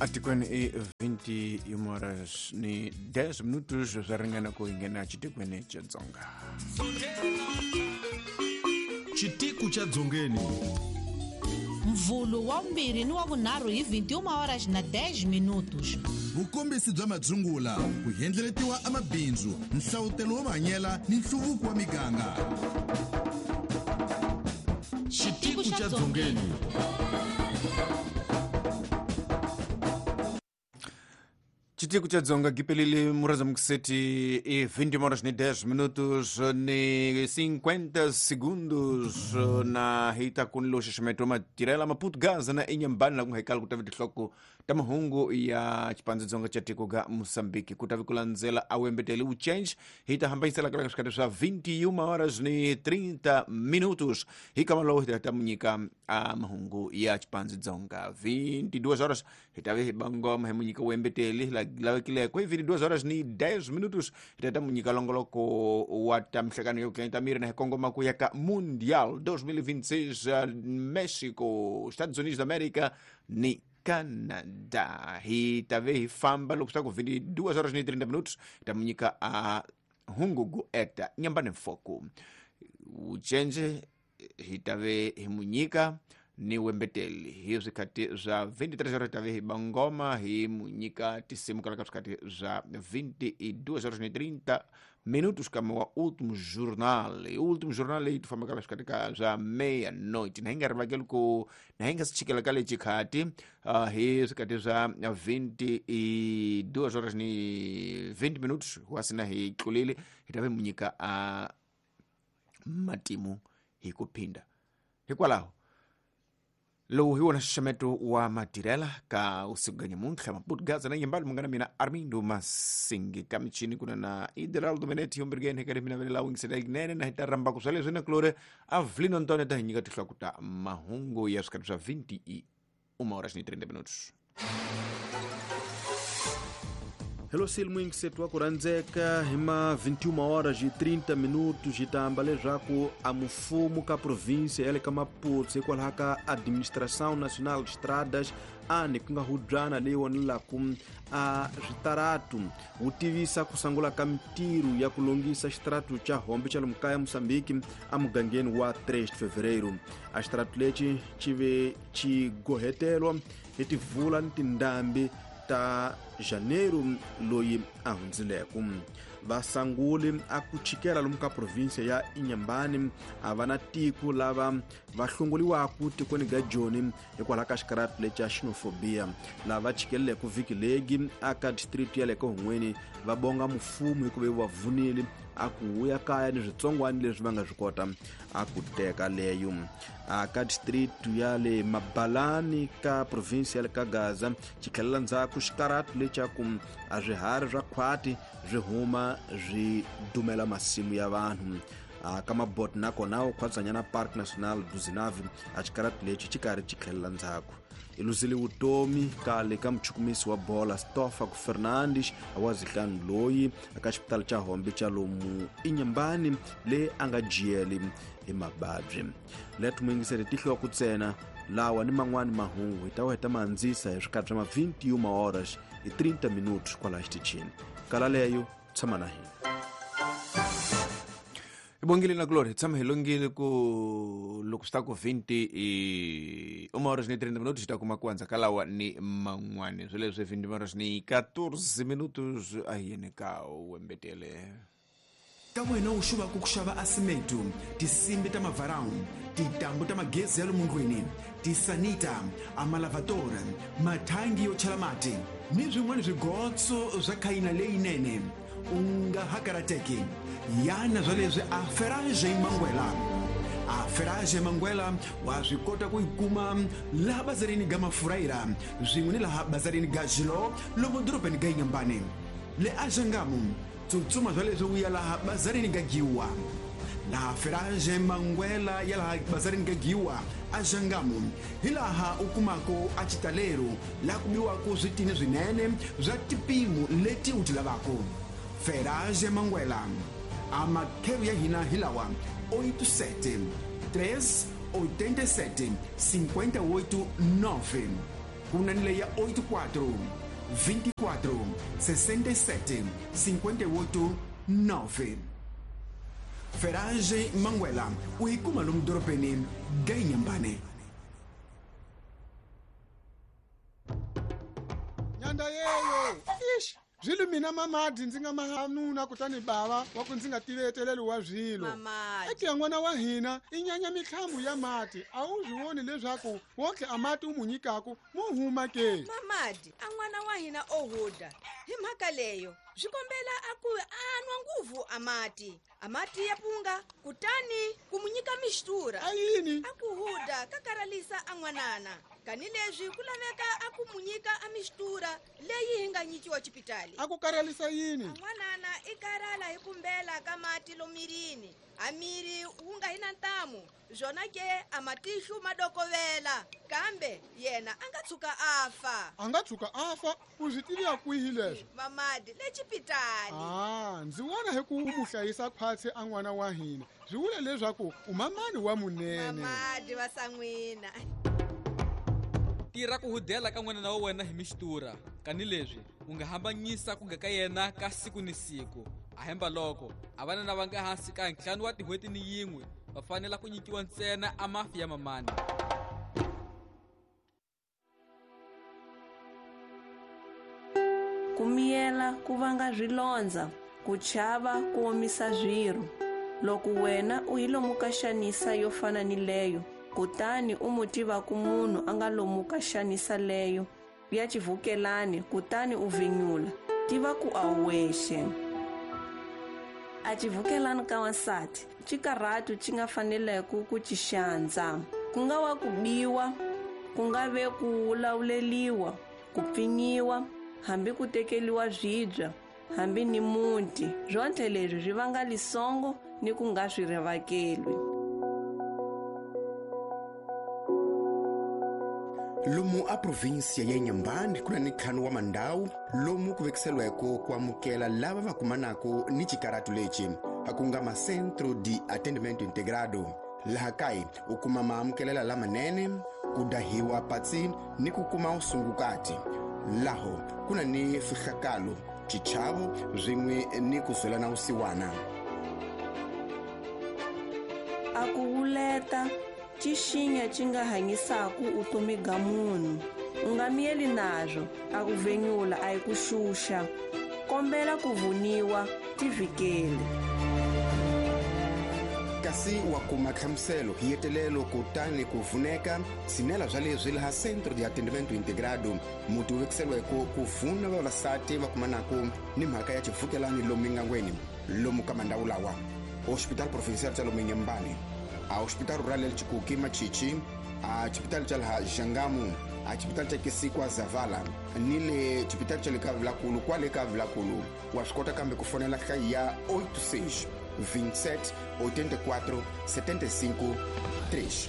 Atikweni i 21 horas ni 10 minutos swa ringana ku hi nghena xitikweni xa Dzonga. Xitiku xa Dzongeni. Mvhulu wa vumbirhi ni wa vunharhu hi 21 horas na 10 minutos. Vukombisi bya madzungula, ku endleletiwa amabindzu, nhlavutelo wo mahanyela ni nhluvuko wa miganga. Xitiku xa Dzongeni. Xitiku xa Dzonga gipelile muraza mukiseti i 20 horas ni 10 minutos ni 50 segundos na hi ta ku ni lowu xaxameto wa matirhela Maputo Gaza na Inhambane la ku nga hikali ku ta vi tinhloko ta mahungu ya xipandza Dzonga xa tiko ga Mozambique ku ta vi ku landzela a wembeteli wu change hi ta hambanyisela ka swikati swa 21 horas ni 30 minutos hi kama lowu hi ta mu nyika a mahungu ya xipandza Dzonga 22 horas hi ta ve hi ba ngoma hi mu nyika wembeteli la lavekileko hi 22 horas ni 10 minutos hi ta mu nyika longoloko wa ta mihlekano yo ta miri na hi kongoma ku ya ka Mundial 2026 Mexico, Estados Unidos da América ni Canada. Hi ta ve hi famba loko swi ta ku 22 horas ni 30 minutos hi ta mu nyika a hungugu eta Nyambane Mfoko ucenje hi ta ve hi mu nyika ni wembeteli hi swikhati swa 23 horas hi ta ve hi ba ngoma hi mu nyika tinsimu kala ka swikhati swa 22 horas ni 30 minutos kama wa último jornal. E último jornal leyi ti famba kala swikhati ka swa meia-noite na hi nga rivakeli ku na hi nga si chikela ka lexi khati hi swikhati swa 22 horas ni 20 minutos wasina hi tlulile hi ta ve mu nyika a matimu hi ku phinda hikwalaho lowu hi wona xaxameto wa matirhela ka usiku ga nyamuntlha Maputo Gaza na Inhambane munghana mina Armindo Masingi ka michini kuna na Ideraldo Meneti yombirigeni hi karhi mina vele lawa yingisela yinene na hi ta rhamba ku swa leswi na kulori Avelino Antonio ta hi nyika tinhloko ta mahungu ya swikarhi swa 21 horas ni 30 minutos. Hello Silmwingset wa ku rhandzeka hi ma 21 horas e 30 minutos hi ta amba leswaku a mfumo ka província ya le ka Maputo hikwalaho ka Administração Nacional de Estradas ani ku nga hubyana leyi vonelaku a switaratu wu tivisa ku sungula ka mintirho ya ku lunghisa xitaratu xa hombe xa lomu kaya Mozambique emugangeni wa 3 de Fevereiro. A xitaratu lexi xi ve xi gohetelwa hi tivula ni tindhambi ta Janeiro loyi a hundzileko. Vasanguli a ku chikela lomu ka província ya Inhambane a va na tiko lava va hlongoliwaka tikweni ga Joni hikwalaho ka xikaratu lexa xenofobia. Lava chikeleleke vhiki legi aka district ya le ka Hungweni va bonga mfumo hikuva va vunile a ku vuya kaya ni switsongwani leswi va nga swi kota a ku teka leyo. Aka district ya le Mabalani ka província ya le ka Gaza xi tlhelela ndzhaku xikaratu lexaku a swiharhi swa khwati swi huma swi dumela masimu ya vanhu. Ka Mabot nakona u khwatsanyana Park National du Zinave a xikaratu lexi xi karhi xi tlhelela ndzhaku. I luzile vutomi kale ka muchukumisi wa bola Stofa Fernandes wa zihlanu loyi aka xipitali xa Hombe xa lomu Inhambane le a nga jiyeli hi mavabyi. Let muyingiseri tihlo ku tsena lawa ni man'wani mahungu hi ta wa hi ta mandzisa hi swikhathi swa ma 21 horas hi 30 minutos kwalaha xitichini. Kala leyo tshama na hina. Hi bongile na Glory, tshama hi longile ku loko swi ta ku 20 horas ni 30 minutos hi ta kuma ku andza ka lawa ni man'wani sweleswi 20 horas ni 14 minutos a hi yeni ka wembetele. Ka wena u xuvaka ku xava asimetu, tinsimbi ta mavarawu, tintambu ta magezi ya lomu ndlwini, tisanita, amalavatory, mathangi yo chela mati ni swin'wana swigotso swa khayina leyinene, u nga ha karateki. Yana swa leswi a Ferage Mangwela. A Ferage Mangwela wa swi kota ku yi kuma laha bazarini ga Mafurayira swin'we ni laha bazarini ga Jilo lomu dorobeni ga Inhambane. Le Axangamu tsutsuma swa leswi u ya laha bazarini ga Giwa. Laha Ferage Mangwela ya laha bazarini ga Giwa Axangamu hi laha u kumaka a xitalero laha ku biwaka switini swinene swa tipimo leti u ti lavaka. Ferage Mangwela a makheru ya hina hi lawa 87 3 87 58 9. Ku na ni leyi ya 84 24 67 58 9. Ferragem Manguela u yi kuma lomu dorobeni ga Inhambane. Nyanda yeyo ixi swilo mina mamadi ndzi nga mahanuna kutani bava wa ku ndzi nga tiveteleli wa swilo. Eka n'wana wa hina i nyanya mitlhambu ya mati, a wu swi voni leswaku wonke a mati u mu nyikaku mo huma ke? Mamadi, a n'wana wa hina o huda hi mhaka leyo swi kombela a ku a nwa nguvu a mati, a mati ya punga, kutani ku mu nyika mixtura. A yini? A ku huda ka karalisa a n'wanana, kani leswi ku laveka a ku mu nyika a mixtura leyi hi nga nyikiwa xipitali. A ku karalisa yini? A n'wanana i karala hi kumbela ka mati lomirini, a miri wu nga hi na ntamu, zwona ke a matihlu ma dokovela, kambe yena a nga tshuka a fa. A nga tshuka a fa? U swi tiviya kwihi leswo? Mamadi, le xipitali. Ah, ndzi vona hi ku u mu hlayisa khwatsi a n'wana wa hina, swi vula leswaku u mamani wa munene. Mamadi va san'wina. Tirha ku hudela ka n'wana wa wena hi mixtura, kani leswi u nga hambanyisa ku ka yena ka siku ni siku. A hemba loko a vana va nga hansi ka 5 wa tin'hweti ni yin'we va fanela ku nyikiwa ntsena a mafi ya mamani. Ku miyela ku vanga swilondza, ku chava ku omisa swirho. Loko wena u hi lomu ka xanisa yo fana ni leyo, kutani u mu tiva ku munhu a nga lomu ka xanisa leyo ya xivukelani, kutani u vinyula, tiva ku a wu wexe. A xivukelani ka wansati xikarhatu xi nga faneleku ku xi xandza, ku nga wa ku biwa, ku nga ve ku lawuleliwa, ku pfinyiwa, hambi ku tekeliwa swibya, hambi ni muti. Swontlhe leswi swi vanga lisongo ni ku nga swi rivakelwi. Lomu a provinsia ya Inhambane ku na ni ntlhanu wa mandhawu lomu ku vekiseliweke ku amukela lava va kumanaka ni xikaratu lexi, a ku nga ma-Centro de Atendimento Integrado. Laha kaya u kuma maamukelela lamanene, ku dahiwa patsi ni ku kuma usungukati. Laho ku na ni fihlakalo, xichavo swin'we ni ku zwelana vusiwana. A ku wuleta xixinya xi nga hanyisaku utomi bya munhu, u nga miyeli nazwo, a ku venyula a yi ku xuxa. Kombela ku vuniwa, tivikele. Kasi wa kuma nhlamuselo hi hetelelo kutani ku vuneka tshinela bya leswi laha Centro de Atendimento Integrado, muti wu vekiseliweke ku vuna vavasati va kumanaka ni mhaka ya xivukelani lomu mingangweni, lomu ka mandhawu lawa: Hospital Provincial xa lomu Inhambane, a Hospital Rural ya Chikuki Machichi, a Hospital xa laha Xangamu, a Hospital xa Kisikwa Zavala ni le Hospital xa le ka Vilakulu kwale ka Vilakulu. Wa swi kota kambe ku fonela nhlayo ya 86 27 84 75 3.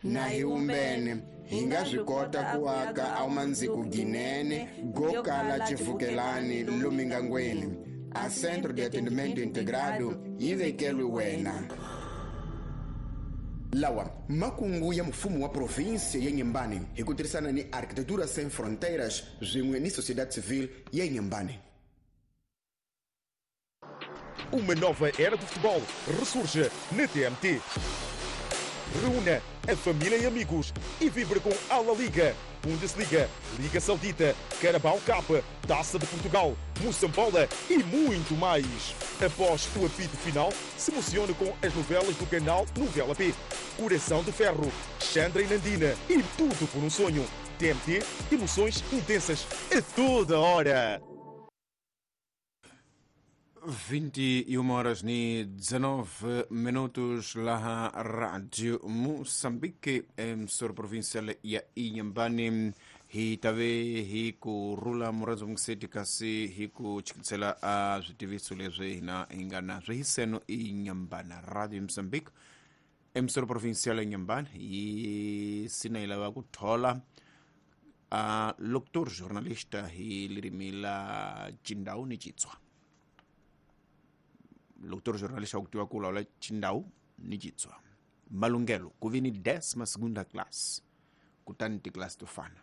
Na hi wumbene hi nga swi kota ku aka amandziko ginene go kala xivukelani lomingangweni. A Centro de Atendimento Integrado yi vekeliwe wena. Lawa makungu ya mfumo wa provinsia ya Inhambane hi ku tirhisana ni Arquitectura Sem Fronteiras swin'we ni Sociedade Civil ya Inhambane. Uma nova era do futebol ressurge na TMT. Reúna a família e amigos e vibre com a La Liga, Bundesliga, Liga Saudita, Carabao Cup, Taça de Portugal, Moçambola e muito mais. Após o apito final, se emocione com as novelas do canal Novela P, Coração de Ferro, Chandra e Nandina e Tudo por um Sonho. TMT, emoções intensas a toda hora. 21 horas e 19 minutos lá Rádio Moçambique, emissora provincial ya Inhambane. Hi tave hi ku rula murhandzu mungiseti kasi hi ku chikisela a switiviso leswi hina hi nga na swi hiseno Inhambane. Radio Moçambique, emissora provincial ya Inhambane, yi sina yi lava ku thola a locutor jornalista hi ririmi la Chindau ni Xitswa. Locutor jornalista wa ku tiva ku vulavula Chindau ni Xitswa. Malunghelo ku vi ni 12ª classe. Kutani tiklasi to fana.